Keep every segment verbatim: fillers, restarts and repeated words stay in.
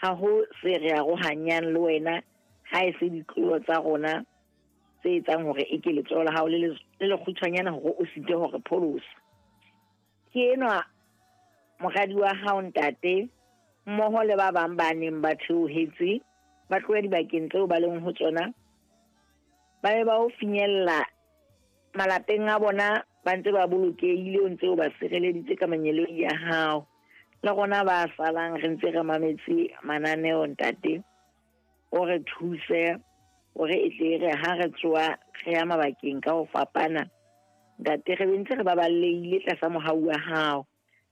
Ha ho se re arohanyang le wena ha e se ditlolo tsa rona tse etsang hore e ke letsoho la hao le le le lekgutshwanyane hore o site hore pholosa. Ke enwa moradi wa hao ntate mmoho le ba bang ba neng ba theohetse ba tloha dibakeng tseo ba leng ho tsona, ba be ba o finyella malapeng a bona ba ntse ba bolokehile, o ntse o ba sireleditse ka mangeloi a hao. Le rona ba salang re ntse re mametse mananeo ntate, o re thuse hore e tle re ha re tsoa re ya mabakeng ka ho fapana, ntate re be ntse re baballehile tlasa mohau wa hao.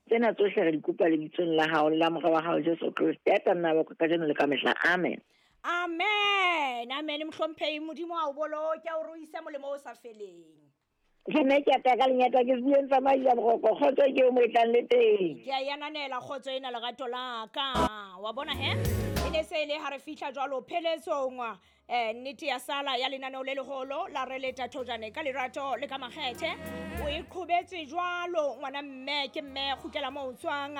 Tsena tsohle re di kopa lebitsong la hao le la mora wa hao Jesu Kreste ya tla nna ba kajeno le ka mehla. Amen. Amen, amen. Mohlomphehi, Modimo a o boloke, a o ruise molemo o sa feleng. Ke ne ke ata ka lenyata ke se tsamaya boroko kgotso ke o mo e tlang le teng. Ke a e ananela kgotso ena lerato la ka. Wa bona he? E ne se e le ha re fihla jwalo pheletsong eh nnete ya sala ya lenaneo le leholo la re leta thojane ka lerato le ka makgethe. O e qhobetse jwalo ngwana mme ke mme kgutlela moo o tswang,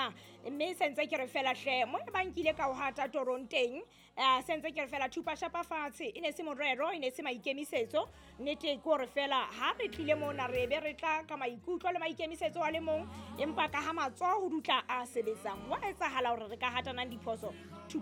mme sentse ke re fela hle mo e bang ke ile ka o hata torong teng, eh sentse ke re fela thupa shapa fatshe, e ne se morero, e ne se maikemisetso. Nnete ke hore fela ha re tlile mona re be re tla ka maikutlo le maikemisetso a le mong, empa ka ha matsoho ho dutla a sebetsang wa etsahala hore re ka hatanang diphoso. Thupa